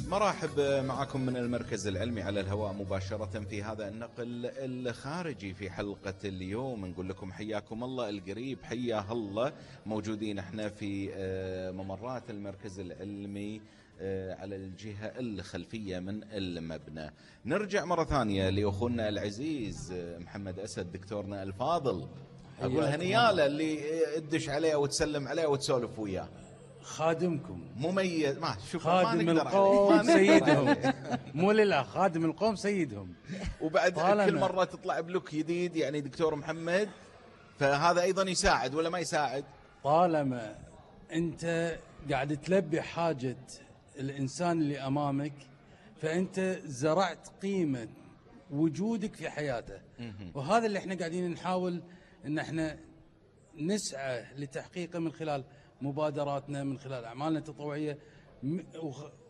مرحب معكم من المركز العلمي على الهواء مباشرة في هذا النقل الخارجي في حلقة اليوم. نقول لكم حياكم الله القريب، حيا الله. موجودين احنا في ممرات المركز العلمي على الجهة الخلفية من المبنى. نرجع مرة ثانية لأخونا العزيز محمد أسد دكتورنا الفاضل، أقول هنياله اللي تدش عليه وتسلم عليه وتسولف وياه. خادمكم مميز، ما شوف خادم القوم سيدهم مو لله، خادم القوم سيدهم. وبعد كل مرة تطلع بلوك جديد يعني دكتور محمد، فهذا أيضا يساعد ولا ما يساعد؟ طالما أنت قاعد تلبي حاجة الإنسان اللي أمامك فأنت زرعت قيمة وجودك في حياته، وهذا اللي احنا قاعدين نحاول ان احنا نسعى لتحقيقه من خلال مبادراتنا، من خلال أعمالنا التطوعية،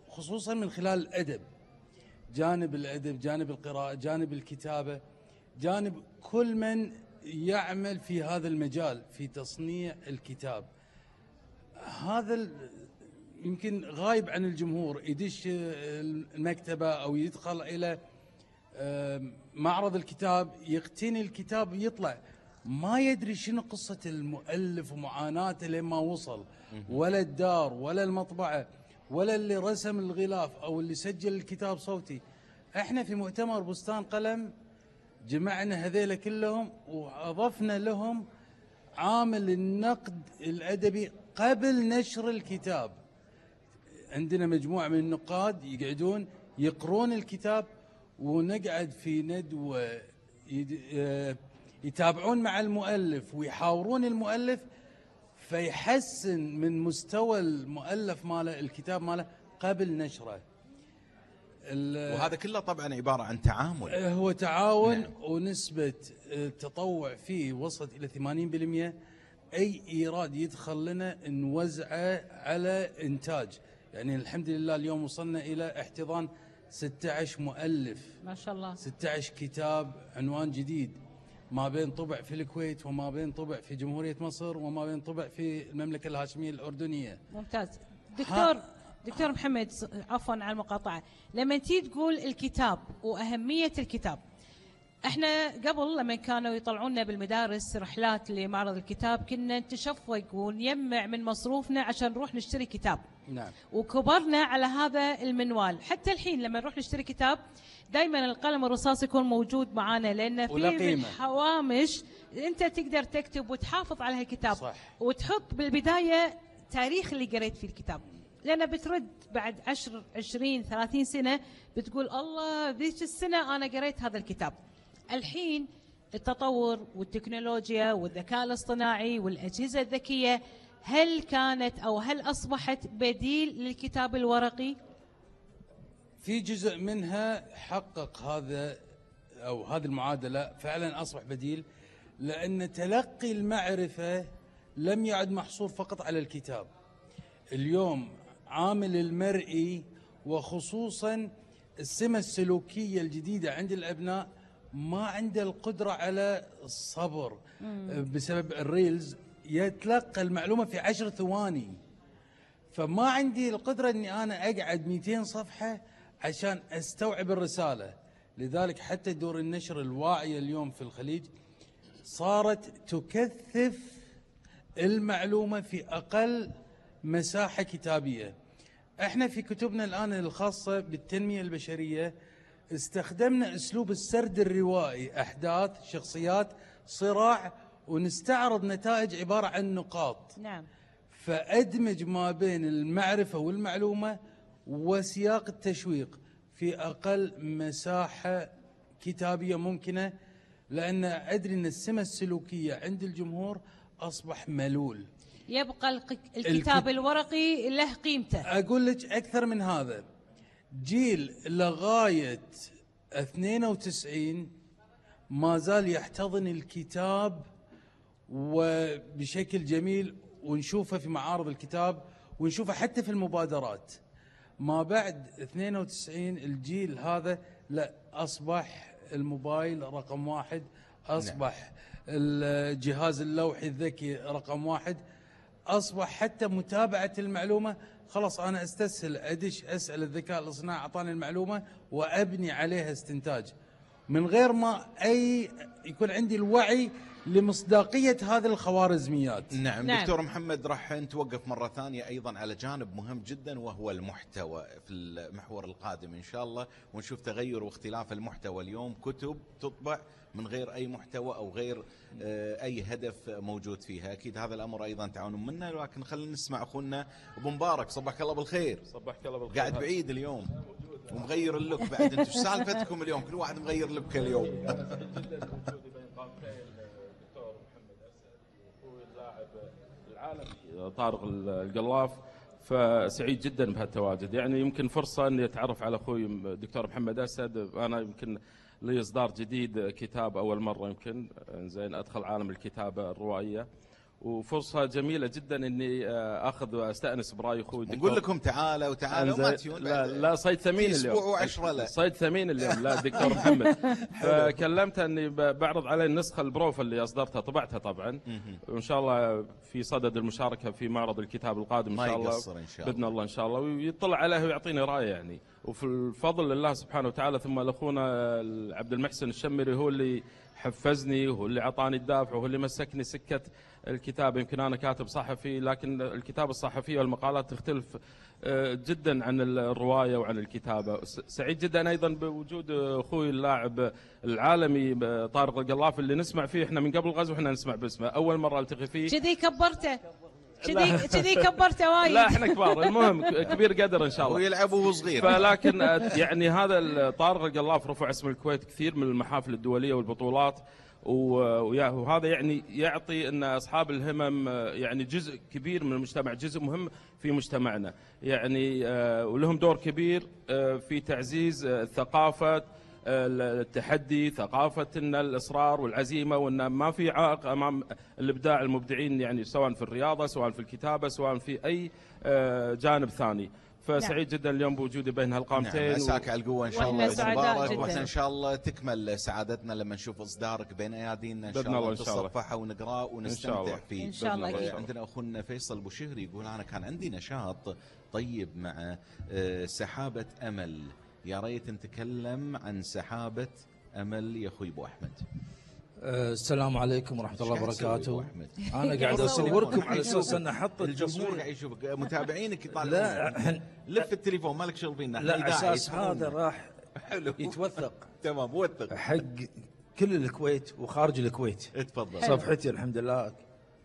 خصوصا من خلال الأدب. جانب الأدب، جانب القراءة، جانب الكتابة، جانب كل من يعمل في هذا المجال في تصنيع الكتاب. هذا يمكن غايب عن الجمهور، يدش المكتبة أو يدخل إلى معرض الكتاب يقتني الكتاب يطلع ما يدري شنو قصة المؤلف ومعاناته لما وصل، ولا الدار ولا المطبعة ولا اللي رسم الغلاف أو اللي سجل الكتاب صوتي. احنا في مؤتمر بستان قلم جمعنا هذيلا كلهم وأضفنا لهم عامل النقد الأدبي قبل نشر الكتاب. عندنا مجموعة من النقاد يقعدون يقرون الكتاب، ونقعد في ندوة يتابعون مع المؤلف ويحاورون المؤلف فيحسن من مستوى المؤلف ماله، الكتاب ماله قبل نشره. وهذا كله طبعا عبارة عن تعامل، هو تعاون. نعم. ونسبة التطوع فيه وصلت إلى 80%. أي إيراد يدخل لنا نوزعه على إنتاج. يعني الحمد لله اليوم وصلنا إلى احتضان 16 مؤلف ما شاء الله، 16 كتاب عنوان جديد، ما بين طبع في الكويت وما بين طبع في جمهورية مصر وما بين طبع في المملكة الهاشمية الأردنية. ممتاز. دكتور محمد، عفوا على المقاطعة، لما تيجي تقول الكتاب وأهمية الكتاب، احنا قبل لما كانوا يطلعونا بالمدارس رحلات لمعرض الكتاب كنا نتشفق ونجمع من مصروفنا عشان نروح نشتري كتاب. نعم. وكبرنا على هذا المنوال. حتى الحين لما نروح نشتري كتاب دائما القلم الرصاص يكون موجود معانا، لأن في الحوامش انت تقدر تكتب وتحافظ على هالكتاب. صح. وتحط بالبداية تاريخ اللي قريت فيه الكتاب، لأن بترد بعد 10 20 30 سنة بتقول الله ذيك السنة أنا قريت هذا الكتاب. الحين التطور والتكنولوجيا والذكاء الاصطناعي والأجهزة الذكية، هل كانت أو هل أصبحت بديل للكتاب الورقي؟ في جزء منها حقق هذا أو هذه المعادلة، فعلا أصبح بديل، لأن تلقي المعرفة لم يعد محصور فقط على الكتاب. اليوم عامل المرئي وخصوصا السمة السلوكية الجديدة عند الأبناء ما عنده القدرة على الصبر بسبب الريلز، يتلقى المعلومة في 10 ثواني. فما عندي القدرة أني أنا أقعد 200 صفحة عشان أستوعب الرسالة. لذلك حتى دور النشر الواعية اليوم في الخليج صارت تكثف المعلومة في أقل مساحة كتابية. احنا في كتبنا الآن الخاصة بالتنمية البشرية استخدمنا أسلوب السرد الروائي، أحداث، شخصيات، صراع، ونستعرض نتائج عبارة عن نقاط. نعم. فأدمج ما بين المعرفة والمعلومة وسياق التشويق في أقل مساحة كتابية ممكنة، لأن أدري أن السمة السلوكية عند الجمهور أصبح ملول. يبقى الكتاب الورقي له قيمته. أقول لك أكثر من هذا، جيل لغاية 92 ما زال يحتضن الكتاب وبشكل جميل، ونشوفه في معارض الكتاب ونشوفه حتى في المبادرات. ما بعد 92 الجيل هذا لا، أصبح الموبايل رقم 1، أصبح الجهاز اللوحي الذكي رقم 1، أصبح حتى متابعة المعلومة خلاص انا استسهل ادش اسال الذكاء الاصطناعي اعطاني المعلومه وابني عليها استنتاج من غير ما يكون عندي الوعي لمصداقيه هذه الخوارزميات. نعم. دكتور محمد، راح نتوقف مرة ثانية أيضا على جانب مهم جدا وهو المحتوى في المحور القادم إن شاء الله، ونشوف تغير واختلاف المحتوى. اليوم كتب تطبع من غير أي محتوى أو غير أي هدف موجود فيها، أكيد هذا الأمر أيضا تعاون منا. لكن خلينا نسمع أخونا أبو مبارك. صباحك الله بالخير. صباحك الله بالخير. قاعد بعيد اليوم ومغير اللوك بعد. انتم ايش سالفتكم اليوم؟ كل واحد مغير لبك اليوم. العالمي طارق القلاف، فسعيد جدا بهالتواجد. يعني يمكن فرصة اني اتعرف على اخوي الدكتور محمد اسد. انا يمكن لي اصدار جديد كتاب اول مرة يمكن زين ادخل عالم الكتابة الروائية، وفرصة جميلة جدا اني اخذ واستانس براي اخوي الدكتور. نقول لكم تعالوا وما تيون. لا صيد ثمين اليوم. اسبوع و10 لا صيد ثمين اليوم. لا الدكتور محمد. فكلمته اني بعرض عليه النسخة البروفة اللي اصدرتها، طبعتها طبعا، وان شاء الله في صدد المشاركة في معرض الكتاب القادم ان شاء الله. باذن الله ان شاء الله، ويطلع عليه ويعطيني رايه يعني. وفي الفضل لله سبحانه وتعالى، ثم لاخونا عبد المحسن الشمري هو اللي حفزني وهو اللي اعطاني الدافع وهو اللي مسكني سكة الكتاب. يمكن أنا كاتب صحفي، لكن الكتابة الصحفية والمقالات تختلف جدا عن الرواية وعن الكتابة. سعيد جدا أيضا بوجود أخوي اللاعب العالمي طارق القلاف، اللي نسمع فيه إحنا من قبل الغزو، إحنا نسمع باسمه، أول مرة التقي فيه. كذي كبرته كذي كبرته وايد. لا احنا كبار، المهم كبير قدر ان شاء الله. ويلعب وهو صغير. فلكن يعني هذا طارق القلاف رفع اسم الكويت كثير من المحافل الدوليه والبطولات، وهذا يعني يعطي ان اصحاب الهمم يعني جزء كبير من المجتمع، جزء مهم في مجتمعنا يعني، ولهم دور كبير في تعزيز الثقافه، التحدي، ثقافة إن الإصرار والعزيمة، وإن ما في عائق أمام الإبداع المبدعين يعني، سواء في الرياضة سواء في الكتابة سواء في أي جانب ثاني. فسعيد جدا اليوم بوجودي بين هالقامتين. مساك على القوة إن شاء الله. مبارك. وإحنا إن شاء الله تكمل سعادتنا لما نشوف إصدارك بين أيادينا إن شاء الله، نتصفحه ونقرأه ونستمتع فيه إن شاء الله. عندنا أخونا فيصل بوشهري يقول أنا كان عندي نشاط طيب مع سحابة أمل، يا ريت نتكلم عن سحابة أمل يا أخوي أبو أحمد. السلام عليكم ورحمة الله وبركاته. أنا قاعد أصوركم على أساس أن أحط الجمهور قاعد يشوفك، متابعينك يطالعون. لا لف التليفون مالك شغل بينا. لا أساس هذا راح يتوثق. تمام، وثق حق كل الكويت وخارج الكويت. اتفضل. صفحتي الحمد لله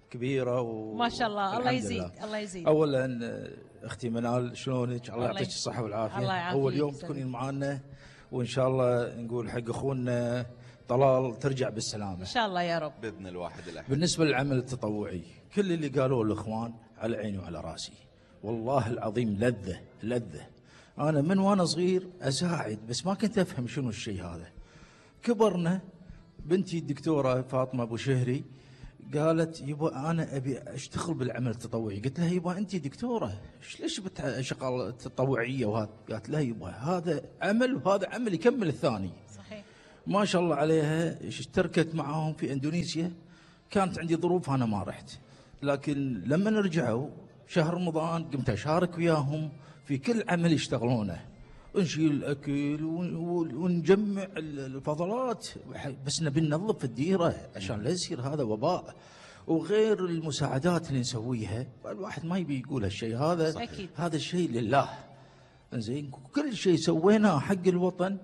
كبيرة ما شاء الله. الله يزيد الله يزيد. أولا أختي منال شلونك؟ الله يعطيك الصحة والعافية. أول يوم تكونين معانا، وإن شاء الله نقول حق أخونا طلال ترجع بالسلامة إن شاء الله يا رب بإذن الواحد الأحد. بالنسبة للعمل التطوعي، كل اللي قالوه الإخوان على عيني وعلى راسي، والله العظيم لذة. أنا من وأنا صغير أساعد، بس ما كنت أفهم شنو الشيء هذا. كبرنا، بنتي الدكتورة فاطمة أبو شهري قالت يبا أنا أبي أشتغل بالعمل التطوعي. قلت لها يبا أنت دكتورة ليش بتشغل تطوعية وهذا؟ قالت لا يبا هذا عمل وهذا عمل يكمل الثاني. صحيح. ما شاء الله عليها اشتركت معاهم في اندونيسيا. كانت عندي ظروف انا ما رحت، لكن لما رجعوا شهر رمضان قمت اشارك وياهم في كل عمل يشتغلونه، نشيل الاكل ونجمع الفضلات، بس نبي ننظف الديره عشان لا يصير هذا وباء، وغير المساعدات اللي نسويها. الواحد ما يبي يقول هالشيء هذا. أكيد. هذا الشيء لله. زين، كل شيء سويناه حق الوطن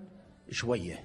شويه،